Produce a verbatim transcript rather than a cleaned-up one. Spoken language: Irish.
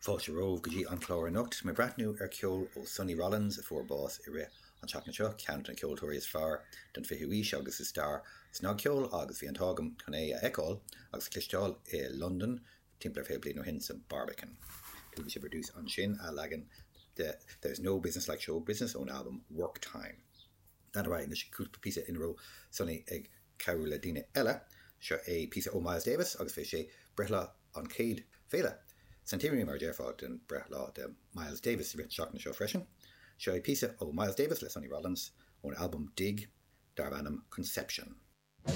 Fáilte romhaibh go dtí an clár anocht mé ag breathnú ar ceol ó Sonny Rollins a fuair bás i rith an tseachtain seo ceann de na ceoltóirí is fearr den fichiú haois agus i stair snagcheoil agus bhí an t-ádh agam chun é a fheiceáil agus cloisteáil i Londain timpeall ar fiche bliain ó shin sa Barbican. Chuala sibh ar dtús ansin a leagan de There's No Business Like Show Business ón album Work Time. Dan ra na cúpla píosa ina raibh Sonny ag cabhrú le daoine eile seo é píosa ó Miles Davis agus bhí sé breithlá an chéad féile. Centenary mar déarfá den breithlá de Miles Davis i rith seachtain seo freisin. Seo é píosa ó Miles Davis le Sonny Rollins ón album Dig darb ainm Conception.